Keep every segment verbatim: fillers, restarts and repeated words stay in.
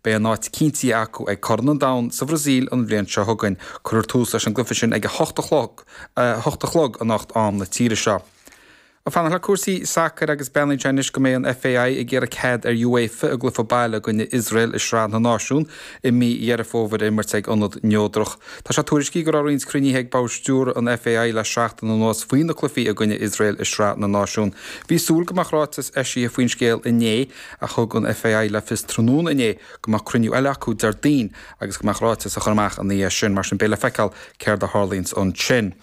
Beidh a n-áit cinntithe acu ag Corn an Domhain sa Bhrasaíl an bhliain seo chugainn. Cuirfear tús leis an gcluiche sin ag a hocht a chlog hocht a chlog anocht am na tíre seo. Ag fanacht le cúrsaí sacair agus breathnaíonn sé anois go mbeidh an FAI ag iarraidh cead ar UEFA a gcluiche baile i gcoinne Iosrael i Sraith na Náisiún i mí Dheireadh Fómhair a imirt ag ionad neodrach. Tá sé tuairiscithe go raibh roinnt cruinnithe ag bord stiúrtha an FAI le seachtain anuas faoi na cluichí i gcoinne Iosrael i Sraith na Náisiún. Bhí súil go mbeadh ráiteas eisithe faoin scéal inné ach thug an FAI le fios tráthnóna inné go mbeadh cruinniú eile acu Déardaoin agus go mbeadh ráiteas á chur amach ina dhiaidh sin mar sin beidh le feiceáil céard a tharlaíonn ansin.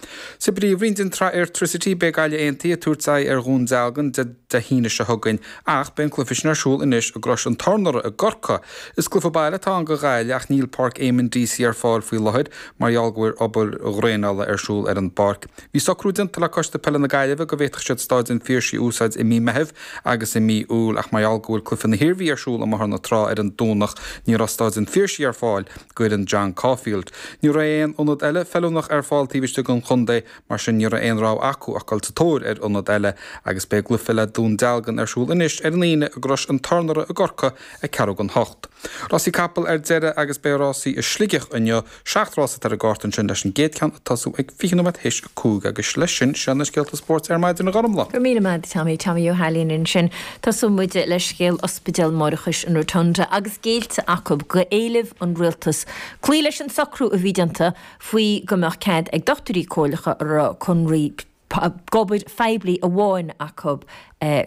Sa bpríomhroinn den tsraith Airtricity beidh Gaillimh Aontaithe ag tabhairt aghaidh ar Dhún Dealgan Dé hAoine seo chugainn ach beidh an cluiche sin ar siúl anois i gCrois an Tornaire i gCorcaigh. Is cluiche baile atá ann do Ghaillimh ach níl Páirc Eamonn Deacy ar fáil faoi láthair mar gheall go bhfuil obair dhraenála ar siúl ar an bpáirc. Bhí socrú déanta le Coiste Peile na Gaillimhe go bhféadfadh siad Staid an Phiarsaigh a úsáid i mí Meithimh agus i mí Iúil ach mar gheall go bhfuil cluiche na hIarmhí ar siúl i mBóthar na Trá ar an Domhnach ní raibh Staid an Phiarsaigh ar fáil d'fhoireann John Caulfield. Ní raibh aon ionad eile feiliúnach ar fáil taobh istigh den chontae mar sin ní raibh aon rogha acu ach dul sa tóir ar ionad eile agus beidh an cluiche le Dún Dealgan ar siúl anois ar an Aoine i gCrois an Tornaire i gCorcaigh ag ceathrú don hocht. Rásaí capall ar deireadh agus beidh rásaí i Sligeach inniu seacht rás atá ar an gcárta ansin leis an gcéad cheann ag tosú ag fiche nóiméad théis a cúig agus leis sin sin na scéalta spóirt ar maidin a Ghormfhlaith. Go raibh míle maith Tommy Tommy Ó hAilín ansin. Tosóidh muid le scéal Ospidéal Máithreachais an Rotunda agus géillte acu go éileamh an rialtas. Cloí leis an socrú a bhí déanta faoi go mbeadh cead ag dochtúirí comhairleacha a raibh conraí d'obair phoiblí amháin acu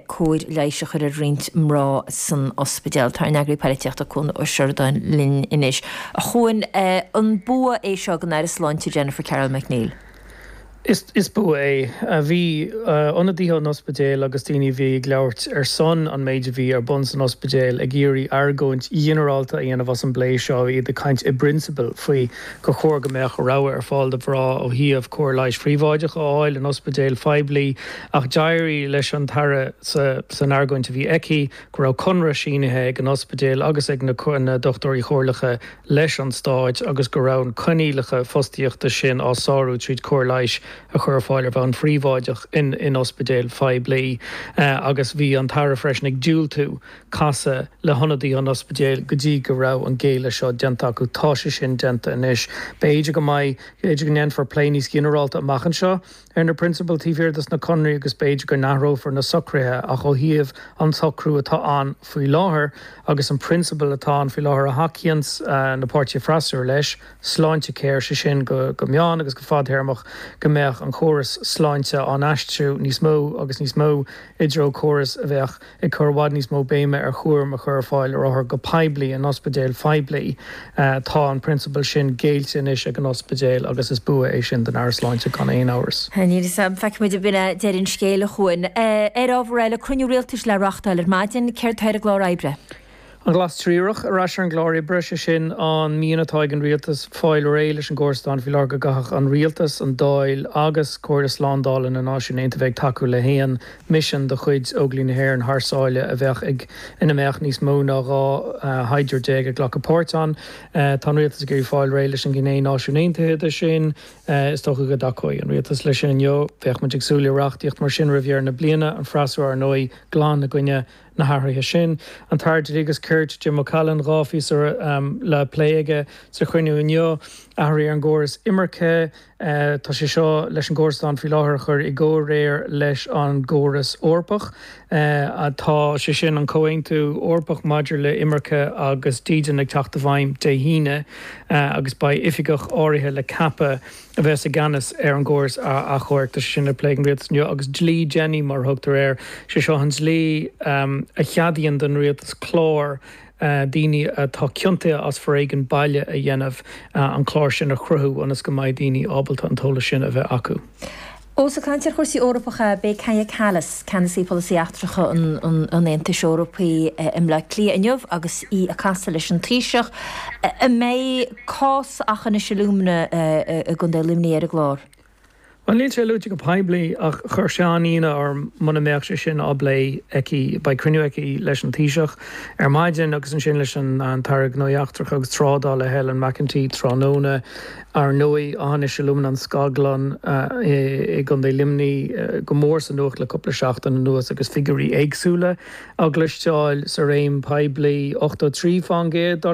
cóir leighis a chur ar roinnt mná san ospidéal. Tá an eagraí polaitíochta Cuan Ó Seireadáin linn anois. A Chuain an bua é seo don Aire Sláinte Jennifer Carroll MacNeill. Is, is bua é. Bhí ionadaithe an ospidéil agus daoine bhí ag labhairt ar son an méid a bhí ar bun san ospidéal ag iarraidh argóint ghinearálta a dhéanamh as an bplé seo iad ag caint i bprionsabal faoi gur chóir go mbeadh rogha ar fáil do mhná ó thaobh cóir leighis phríobháideach a fháil in ospidéal phoiblí ach d'éirigh leis an tAire sa, san argóint a bhí aici go raibh conradh sínithe ag an ospidéal agus ag na, na dochtúirí comhairleacha leis an stát agus go raibh an coinníollacha fostaíochta sin á sárú tríd cóir leighis a chur ar fáil ar bhonn phríobháideach in in ospidéal phoiblí uh, agus bhí an tAire freisin ag diúltú casadh le hionadaithe an ospidéil go dtí go raibh an géilleadh seo déanta acu tá sé sin déanta anois. B'fhéidir go mbeidh b'fhéidir go ndéanfar plé níos ginearálta amach anseo ar na prionsabail taobh thiar de na conraí agus b'fhéidir go n-athrófar na socruithe ach ó thaobh an socrú atá ann faoi láthair agus an prionsabal atá ann faoi láthair a thacaíonn uh, na páirtithe freasúra leis Sláintecare sé sin go go meán agus go fadtéarmach go mbeadh an chóras sláinte á aistriú níos mó agus níos mó i dtreo córas a bheadh ag cur i bhfad níos mó béime ar chúram a chur ar fáil ar othair go poiblí in ospidéal phoiblí uh, tá an prionsabal sin géillte anois ag an ospidéal agus is bua é sin don Aire Sláinte gan aon amhras. Ní sam feicfimid b'in deireadh an scéil a Chuain. Ar ábhar eile cruinniú rialtais le reáchtáil ar maidin céard atá ar an gclár oibre. An Glas Triarach ar ais ar an gclár oibre sé sin an mian atá ag an rialtas fáil réidh leis an gcóras atá ann faoi láthair go gcaithfidh an rialtas an Dáil agus Comhairle Slándála na Náisiún Aontaithe bheith ag tacú le haon misean de chuid Óglaigh na hÉireann thar sáile a bheadh ag ina mbeadh níos mó ná dhá shaighdiúir déag ag glacadh páirt ann. Tá an rialtas ag iarraidh fáil réidh leis an ghné Náisiún Aontaithe de sin is dócha go dtacóidh an rialtas leis sin inniu bheadh muid ag súil le reachtaíocht mar sin roimh dheireadh na bliana an freasúra ar ndóigh glan i gcoinne na hathruithe sin. An tAire Dlí agus Cirt Jim O'Callaghan dhá phíosa um, le plé aige sa chruinniú inniu athruithe ar an gcóras imirce uh, tá sé seo leis an gcóras atá ann faoi láthair a chur i gcomhréir leis an gcóras Eorpach. Uh, tá sé sin an Comhaontú Eorpach maidir le imirce agus dídean ag teacht i bhfeidhm Dé hAoine uh, agus beidh oifigeach áirithe le ceapadh a bheas i gceannas ar an gcóras achomhairc tá sin le plé ag an rialtas inniu agus dlí Jenny mar a thugtar air sé seo an dlí um, a cheadaíonn don rialtas clár uh, daoine atá ciontaithe as foréigean baile a dhéanamh uh, an clár sin a chruthú ionas go mbeidh daoine ábalta an t-eolas sin a bheith acu. Ós ag caint ar chúrsaí Eorpacha beidh Kaja Kallas, ceannasaí polasaí eachtracha an, an, an Aontais Eorpaigh i mBleá Cliath inniu agus í ag casadh leis an Taoiseach. An mbeidh cás Aughinish Alumina i gContae Luimnigh ar an gclár. Well níl sé luaite go poiblí ach chuir sé an-ionadh orm muna mbeadh sé sin á bplé aici beidh cruinniú aici leis an Taoiseach ar maidin agus ansin leis an an tAire Gnóthaí Eachtracha agus Trádála Helen McEntee tráthnóna ar ndóigh Aughinish Alumina an scaglann i gContae Luimnigh go mór sa nuacht le cúpla seachtain anuas agus figiúirí éagsúla á gcloisteáil sa réim poiblí ochtó trí faoin gcéad dar